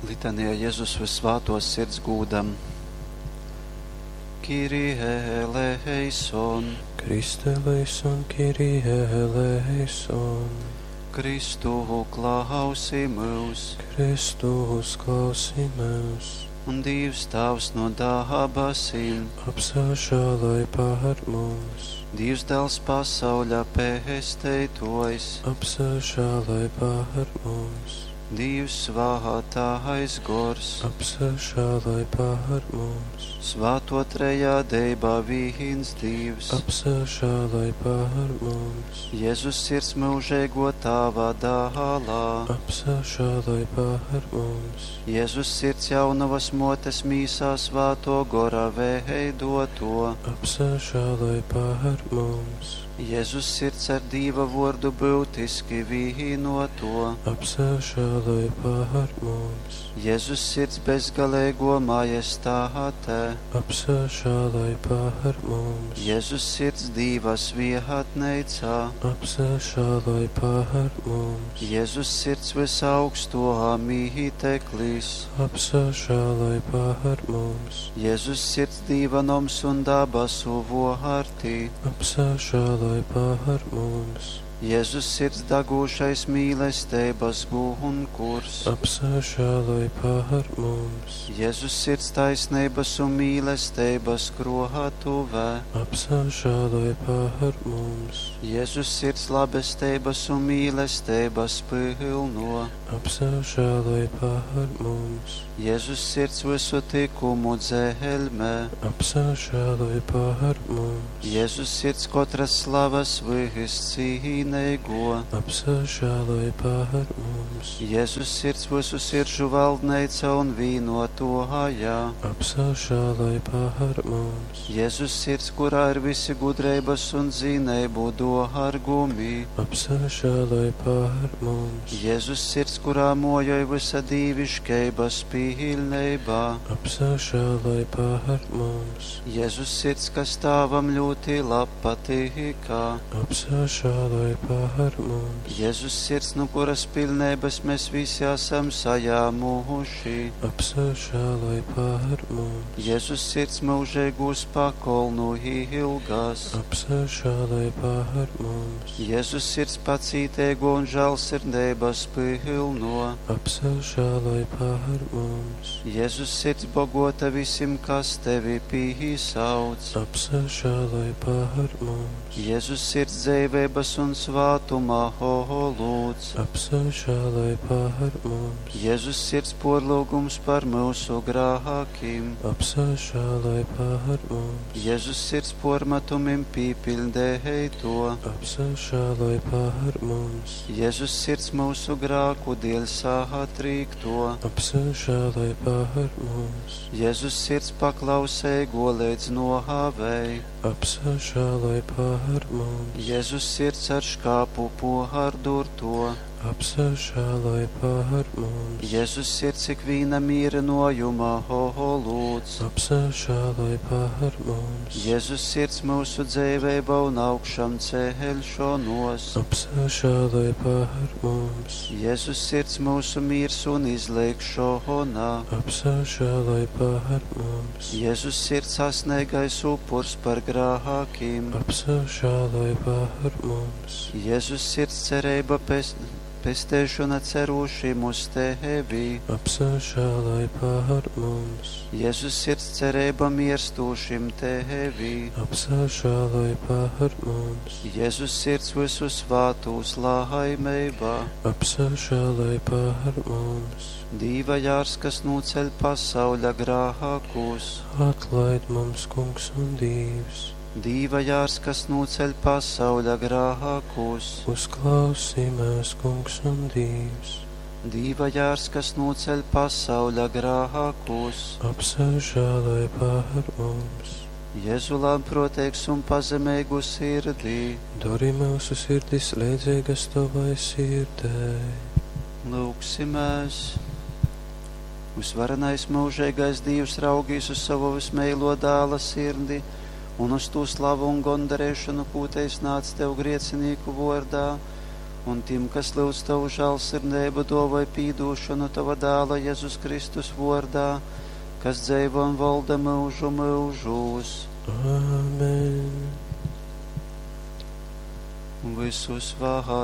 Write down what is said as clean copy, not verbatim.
Litanija Jezus Vyssvātōs Sirds gūdam. Kyrie eleison. Christe eleison, Kyrie eleison. Kristu klausi myus. Kristu uzklausi myus. Un Dīvs Tāvs no dabasim. Apsažāloj par mums. Dīvs Dāls pasauļa pesteitōjs. Apsažāloj par mums. Dīvs Svātais Gors. Apsažāloj par mums. Svāto trejādeiba vīns Dīvs. Apsažāloj par mums. Jezus sirds mūžīgo Tāva dālā. Apsažāloj par mums. Jezus sirds jaunavas motes mīsā svāto gora veidoto. Apsažāloj par mums. Jezus sirds ar Dīva vordu būtiski vīnoto. Apsažāloj par mums. Jezus sirds bezgalīgo majestāte. Apsažāloj par mums. Jezus sirds Dīva svietneicā. Apsažāloj par mums. Jezus sirds visaugsto mīteklis. Apsažāloj par mums. Jezus sirds Dīva noms un dabasu vārti. Apsažāloj par mums. Jezus sirds dagūšais mīlestības gunkurs. Apsažāloj par mums. Jezus sirds taisnības un mīlestības krātuvē. Apsažāloj par mums. Jezus sirds labestības un mīlestības pilno. Apsažāloj par mums. Jezus sirds visu tikumu dzelmē. Apsažāloj par mums. Jezus sirds katras slavas viscīnīgo. Apsažāloj par mums. Jezus sirds visu sirdžu valdneica un vīnotoja. Apsažāloj par mums. Jezus sirds, kurā ir visi gudrības un zinību dārgumi. Apsažāloj par mums. Jezus sirds, kurā mojoj visa dīviškeibas pilnībā. Apsažāloj par mums. Jezus sirds, kas tāvam ļoti labpatīkā. Apsažāloj par mums. Jezus sirds, no kuras pilnības mēs visi esam sajāmuši. Apsažāloj par mums. Jezus sirds mūžīgūs pakolnu ilgas. Apsažāloj par mums. Jezus sirds pacītīgo un žēlsirdības pilno. Apsažāloj par mums. Jezus sirds bogota visiem, kas tevi pīsauc. Apsažāloj par mums. Jezus sirds dzīvības un svātuma lūdz. Apsažāloj par mums. Jezus sirds porlūgums par mūsu grākiem. Apsažāloj par mums. Jezus sirds pormetumim pīpildēja to. Apsažāloj par mums. Jezus sirds mūsu grāku dēļ sātrīkto. Apsažāloj par mums. Jezus sirds paklausēgo līdz nohāvei. Apsažāloj par mums. Jezus sirds ar škāpu pohārdurto. Apsažāloj par mums. Jezus sirds ikviena mīrinojuma lūdz. Apsažāloj par mums. Jezus sirds mūsu dzīvība un augšām ceļšanos. Apsažāloj par mums. Jezus sirds mūsu miers un izlīgšana. Apsažāloj par mums. Jezus sirds sasniegais upurs par grākiem. Apsažāloj par mums. Jezus sirds cerība pestēšana cerūšiem uz tevi. Apsažāloj par mums. Jezus sirds cerība mirstūšiem tevi. Apsažāloj par mums. Jezus sirds visu svātūs laimībā. Apsažāloj par mums. Dīva jārs, kas noceļ pasauļa grākus. Atlaid mums, Kungs un Dievs. Dīva jārs, kas noceļ pasauļa grākus. Uzklausī mūs, Kungs un Dievs. Dīva jārs, kas noceļ pasauļa grākus. Apsažāloj par mums. Jēzu lēnprātīgs un pazemīgu sirdī. Dari mūsu sirdis līdzīgas tavai sirdei. Lūgsimies! Visvarenais mūžīgais Dievs raugīs uz savu vismīlo dēla sirdi un uz to slavu un gondarēšanu, ko te iznāca tev griecinīku vordā, Un tim, kas lyudz Tavu žālsirdeibu, dōvoj pīdūšonu Tova Dāla Jezus Kristus vōrdā, kas dzeivo un volda myužu myužūs. Āmen. Vysusvātākais.